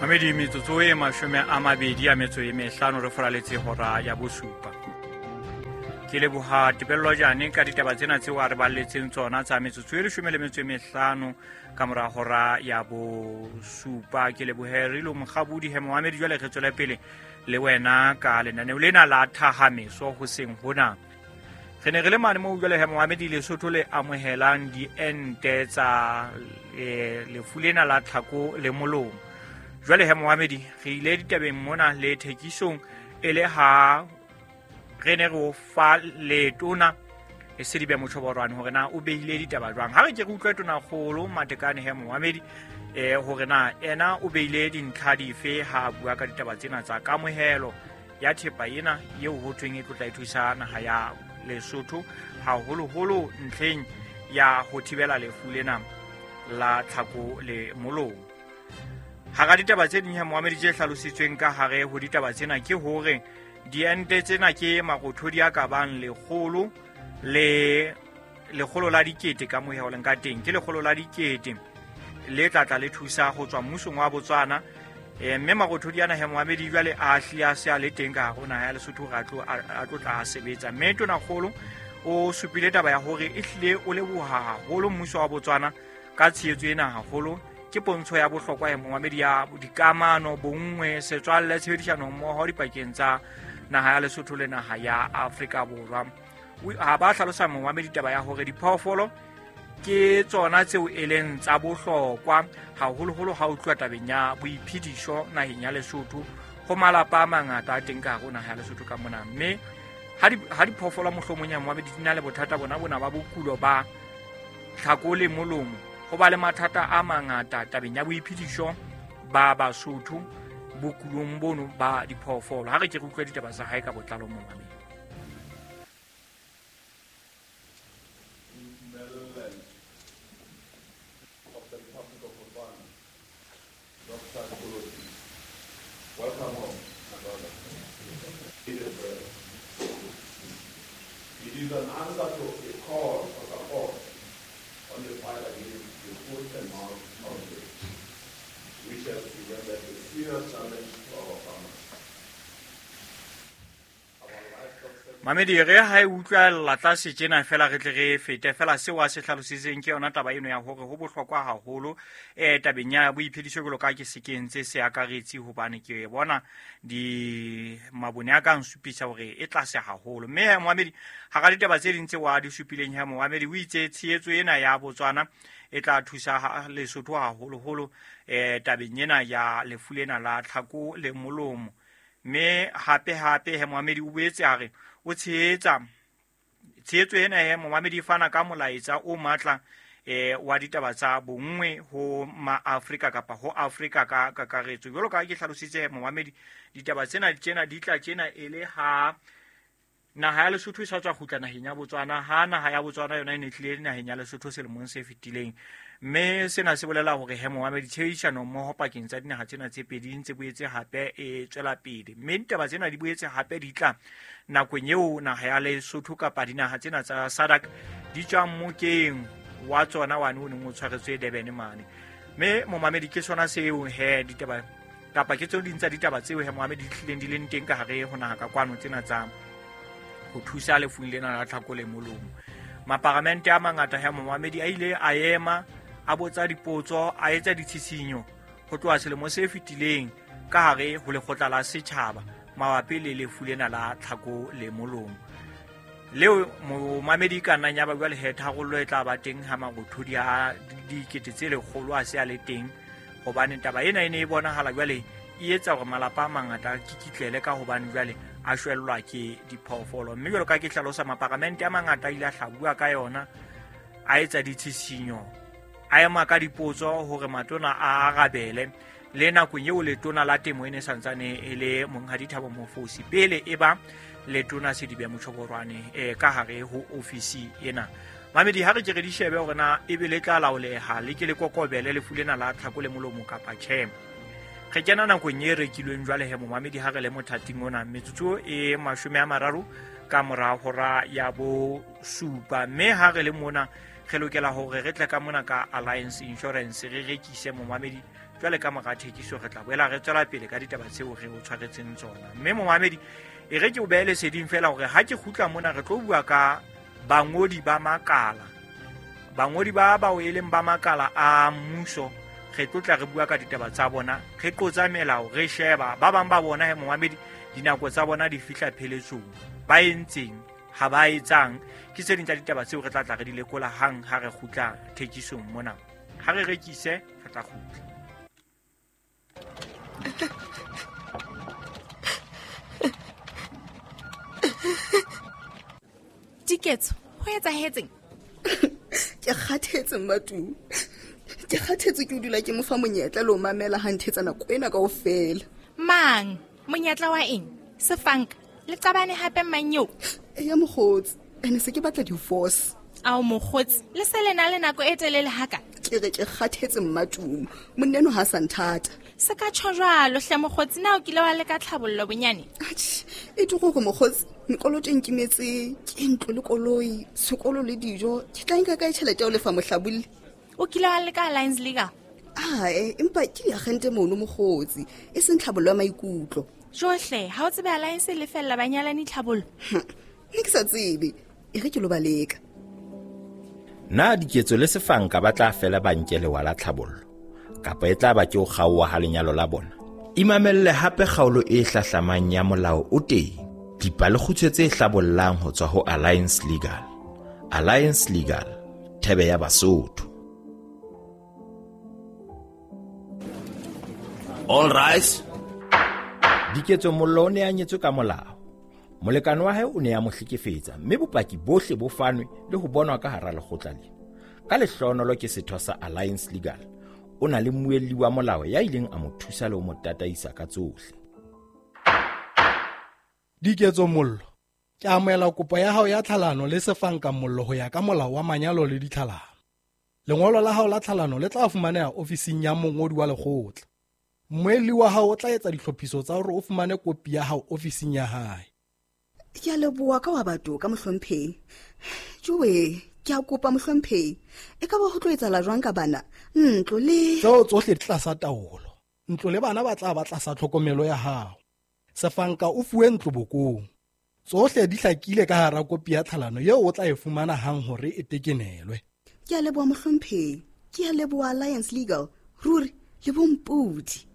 Mamedi, metsotso e 25 re foraletse hora ya bosupa. Ke leboha Tebello Jane ka ditaba tsena tseo a re balletseng tsona tsa metsotso e 15 ka mora hora ya bosupa. Ke lebohe Rilo Mokgabudi he momamedi. Jwale re tswele pele le wena ka lenaneo lena la thahameso hoseng hona. Re ne re le mane moo jwale he momamedi Lesotho le amohelang diente tsa lefu lena la tlhako le molomo. Jwale he momamedi re ile ditabeng mona le thekisong e le ha re ne re o fa letona e Sedibe Motjhoborwane hore na o behile ditaba jwang. Ha re ke re utlwe tonakgolo Matekane he momamedi hore na ena o behile dintlha dife ha a bua ka ditaba tsena tsa kamohelo ya thepa ena eo ho thweng e tlotla e thusa naha ya Lesotho haholoholo ntlheng ya ho thibela lefu lena la tlhako le molomo. Hara ditaba tse ding moamedi tse hlalositsweng ka hare ho ditaba tsena ke hore diente tsena ke marothodi a ka bang 100 le 100 la dikete ka moya o leng ka teng, ke 100 la dikete le tlatla le thusa ho tswa mmusong wa Botswana. Mme marothodi ana he moamedi jwale a hlile a se a le teng ka hare ho naha ya Lesotho hore a tlo tla a sebetsa. Mme tonakgolo o supile taba ya hore e hlile o leboha haholo mmuso wa Botswana ka tshehetso ena haholo. Ke pontsho ya bohlokwa ya momamedi ya dikamano, bonngwe, setswalle, tshebedisano mmoho dipakeng tsa naha ya Lesotho le naha ya Afrika Borwa. Ha ba hlalosa momamedi taba ya hore diphoofolo ke tsona tseo e leng tsa bohlokwa haholoholo ha o tluwa tabeng ya boiphediso naheng ya Lesotho ho malapa a mangata a teng ka hare ho naha ya Lesotho ka mona. Mme ha diphoofolo mohlomong ya momamedi di na le bothata bona bona ba bokulo ba tlhako le molomo, ho ba le mathata a mangata tabeng ya boiphediso ba Basotho bokulong bono ba diphoofolo. Ha re ke re utlwe ditaba tsa hae ka botlalo momamedi. Welcome home, my brother. It is an answer to a call for support on the fight against the foot and mouth outbreak, which has presented a serious challenge to our farmers. Mamedi, re ha e utlwella tlase tjena fela re tle re fete fela seo a se hlalositseng ke yona taba eno ya hore ho bohlokwa haholo tabeng ya boiphediso jwalo ka ke se kentse se akaretse, hobane ke bona di mabone a ka nsupisa hore e tlase haholo. Mme he moamedi hara ditaba tse ding tseo a di supileng he moamedi o itse tshehetso ena ya Botswana e tla thusa Lesotho haholoholo tabeng ena ya lefu lena la tlhako le molomo. Mme hape hape he moamedi o boetse a re o tshehetsa tshehetso ena he moamedi e fana ka molaetsa o matla wa ditaba tsa bonngwe ho ma-Afrika kapa ho Afrika ka kakaretso. Jwalo ka ha ke hlalositse moamedi, ditaba tsena tjena di tla tjena e le ha naha ya Lesotho e sa tswa kgutla naheng ya Botswana, ha naha ya Botswana yona e ne tlile naheng ya Lesotho selemong se fetileng. Mme sena se bolela hore he moamedi tshebedisano mmoho pakeng tsa dinaha tsena tse pedi ntse boetse hape e tswela pele. Mme ditaba tsena di boetse hape di tla nakong eo naha ya Lesotho kapa dinaha tsena tsa SADC di tswang mokeng wa tsona wane o neng o tshwaretswe Durban mane. Mme momamedi ke sona seo he ditaba kapa ke tseo ding tsa ditaba tseo he moamedi di hlileng di leng teng ka hare ho naha ka kwano tsena tsa ho thusa lefung lena la tlhako le molomo. Maparamente a mangata he momamedi a ile a ema a botsa dipotso, a etsa ditshisinyo ho tloha selemo se fetileng ka hare ho lekgotla la setjhaba mabapi le lefu lena la tlhako le molomo. Leo momamedi ka nnang ya ba jwale he tharollo e tla ba teng ha marothodi a dikete tse 100 a se a le teng, hobane taba ena e ne e bonahala jwale e etsa hore malapa a mangata a kikitlele ka hobane jwale a shwellwa ke diphoofolo. Mme jwalo ka ke hlalosa, maparamente a mangata a ile a hlabua ka yona, a etsa ditshisinyo, a ema ka dipotso hore matona a arabele. Le nakong eo letona la temo e ne santsane e le Monghadi Thabo Mofosi pele e ba letona Sedibe Motjhoborwane ka hare ho ofisi ena. Mamedi, ha re ke re di shebe hore na ebe le tla laoleha le ke le kokobele lefu lena la tlhako le molomo kapa tjhe. Re kena nakong e rekilweng jwale he momamedi ha re le mothating ona, metsotso e 30 ka mora hora ya bosupa. Mme ha re le mona re lokela hore re tle ka mona ka Alliance Insurance re rekise momamedi. Jwale ka mora thekiso re tla boela re tswela pele ka ditaba tseo re o tshwaretseng tsona. Mme momamedi, e re ke o behe leseding fela hore ha ke kgutla mona re tlo bua ka bangodi ba makala. Bangodi ba bao e leng ba makala a mmuso, re tlo tla re bua ka ditaba tsa bona, re qotsa melao, re sheba ba bang ba bona he momamedi dinako tsa bona di fihla pheletsong, ba entseng ha ba etsang. Ke tse ding tsa ditaba tseo re tla tla re di lekola hang ha re kgutla thekisong mona. Ha re rekise, re tla kgutla. Diketso, ho etsahetseng? Ke kgathetse Mmatume. Ke kgathetse ke o dula ke mo fa monyetla le ho mamela ha nthetsa nako ena kaofela. Mang? Monyetla wa eng? Sefanka, le qabane hape mang eo? Eya mokgotsi, ene se ke batla divorce. Ao mokgotsi, le se le na le nako e telele haka? Ke re ke kgathetse Mmatume, monna eno ha a sa nthata. Se ka tjho jwalo hle mokgotsi, na o kile wa leka tlhabollo bonyane? Atjhe, e tlo gore mokgotsi, mekoloto e nkimetse, ke ntlo le koloi, sekolo le dijo, ke tla nka kae tjhelete ya ho lefa mohlabolli? O kile wa leka Alliance Legal? Ae, empa ke diagente mono mokgotsi, e seng tlhabollo ya maikutlo. Johle, ha o tsebe Alliance e lefella banyalani tlhabollo? Nne ke sa tsebe, e re ke lo ba leka. Na Diketso le Sefanka ba tla fela ba nke lewa la tlhabollo, kapa e tla ba ke ho kgaoha ha lenyalo la bona? Imamelle hape kgaolo e hlahlamang ya Molao o Teng, dipalekgutshwe tse hlabollang ho tswa ho Alliance Legal. Alliance Legal, thebe ya Basotho. All rise. Diketso Mollo o ne a nyetswe ka molao. Molekane wa hae o ne a mo hlekefetsa, mme bopaki bohle bo fanwe le ho bonwa ka hara lekgotla lena. Ka lehlohonolo ke setho sa Alliance Legal. O na le mmuelli wa molao ya ileng a mo thusa le ho mo tataisa ka tsohle. Diketso Mollo, ke amohela kopo ya hao ya tlhalano le Sefanka Mollo ho ya ka molao wa manyalo le ditlhalano. Lengolo la hao la tlhalano le tla fumaneha ofising ya mongodi wa lekgotla. Mmuelli wa hao o tla etsa ditlhophiso tsa hore o fumane kopi ya hao ofising ya hae. Ke a leboha ka wa batho ka mohlomphehi. Joe, ke a kopa mohlomphehi, e ka ba ho tlo etsahala jwang ka bana? Ntlo le Tseo tsohle di tlasa taolo. Ntlo le bana ba tla ba tlasa tlhokomelo ya hao. Sefanka o fuwe ntlo bokong. Tsohle di hlakile ka hara kopi ya tlhalano eo o tla e fumana hang hore e tekenelwe. Ke a leboha mohlomphehi, ke a leboha Alliance Legal, ruri le bompodi.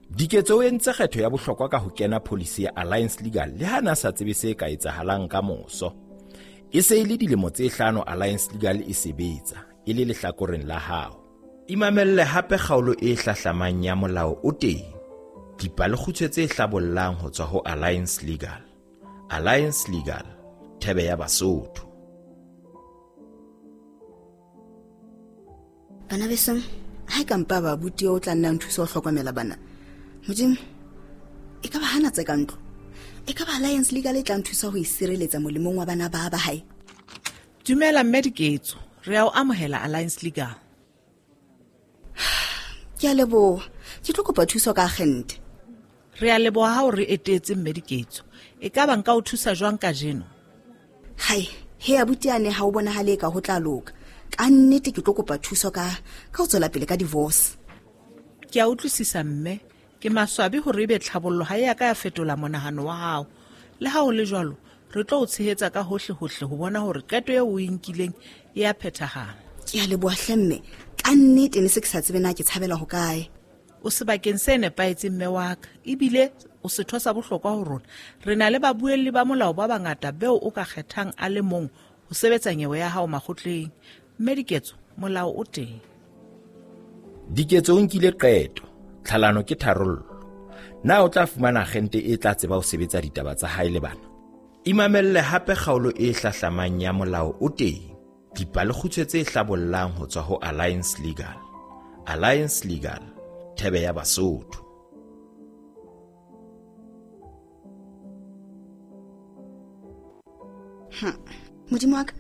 Diketso o entse kgetho ya bohlokwa ka ho kena pholisi ya Alliance Legal le ha na sa tsebe se ka etsahalang ka moso. E se e le dilemo tse 5 Alliance Legal e sebetsa e le lehlakoreng la hao. Imamelle hape kgaolo e hlahlamang ya Molao o Teng, dipalekgutshwe tse hlabollang ho tswa ho Alliance Legal. Alliance Legal, thebe ya Basotho. Bana besong, ha e ka mpa ba abuti eo o tla nna nthusa ho hlokomela bana. Modimo, e ka ba hana tse ka ntlo. E ka ba Alliance Legal e tla nthusa ho e sireletsa molemong wa bana ba ba hae. Dumela mme Diketso, re a o amohela Alliance Legal. Ke a leboha, ke tlo kopa thuso ka agente. Re a leboha ha o re etetse mme Diketso. E ka ba nka o thusa jwang kajeno? Hai, he abuti ane ha o bonahale ka ho tla loka. Ka nnete ke tlo kopa thuso ka ho tswela pele ka divorce. Ke a utlwisisa mme, ke maswabi hore ebe tlhabollo ha e a ka ya fetola monahano wa hao. Le ha ho le jwalo, re tlo o tshehetsa ka hohle hohle ho bona hore qeto eo o e nkileng e a phethahala. Ke a leboha hle mme, ka nnete ne se ke sa tsebe na ke tshabela ho kae. O sebakeng se nepahetseng mme wa ka, ebile o setho sa bohlokwa ho rona. Re na le babuelli ba molao ba bangata beo o ka kgethang a le mong ho sebetsa nyewe ya hao makgotleng. Mme Diketso, molao o teng. Diketso o nkile qeto, tlhalano ke tharollo. Na o tla fumana agente e tla tseba ho sebetsa ditaba tsa hae le bana? Imamelle hape kgaolo e hlahlamang ya Molao o Teng, dipalekgutshwe tse hlabollang ho tswa ho Alliance Legal. Alliance Legal, thebe ya Basotho. Modimo wa ka,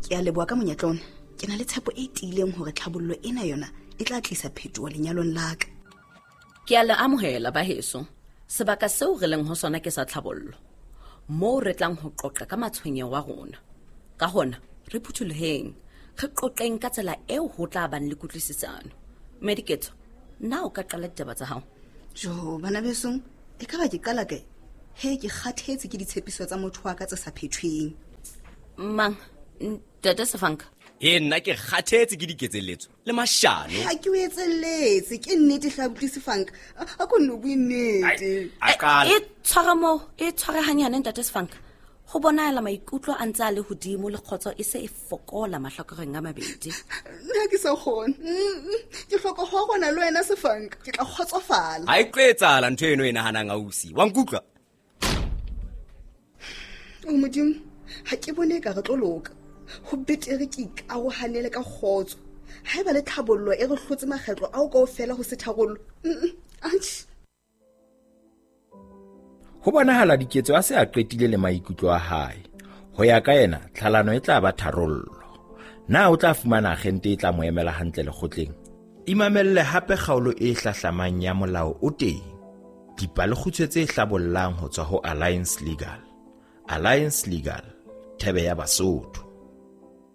ke a leboha ka monyetla ona. Ke na le tshepo e tiileng hore tlhabollo ena yona e tla tlisa phetoho lenyalong la ka. Ke a le amohela ba heso. Sebaka seo re leng ho sona ke sa tlhabollo, moo re tlang ho qoqa ka matshwenyeho a rona. Ka hona, re phuthuloheng, re qoqeng ka tsela eo ho tla bang le kutlwisisano. Mme Diketso, Na o ka qala ditaba tsa hao? Jo, bana besong, e ka ba ke qala kae? He, ke kgathetse ke ditshepiso tsa motho wa ka tse sa phethweng. Mang? Ntate Sefanka? E nna ke kgathetse ke diketselletso le mashano. Ha ke o etselletse, ke nnete hle abuti Sefanka. A ko nno bue nnete. A qala. E tshware moo, e tshware hanyane ntate Sefanka. Go bonala maikutlo a ntse a le godimo le kgotso e se e fokola mahlakoreng a mabedi. Nna ke sa kgone. Ke hloka ho rona le wena Sefanka, ke tla kgotsofala. Ha e tlo etsahala ntho eno e nahanang ausi. Wa nkutlwa? O Modimo, ha ke bone e ka re tlo loka. Ho betere ke ikarohanele ka kgotso. Haeba le tlhabollo e re hlotse makgetlo ao kaofela ho se tharollo. Atjhe. Ho bonahala Diketso a se a qetile le maikutlo a hae. Ho ya ka yena, tlhalano e tla ba tharollo. Na o tla fumana agente e tla mo emela hantle lekgotleng? Imamelle hape kgaolo e hlahlamang ya Molao o Teng. Dipalekgutshwe tse hlabollang ho tswa ho Alliance Legal. Alliance Legal, thebe ya Basotho.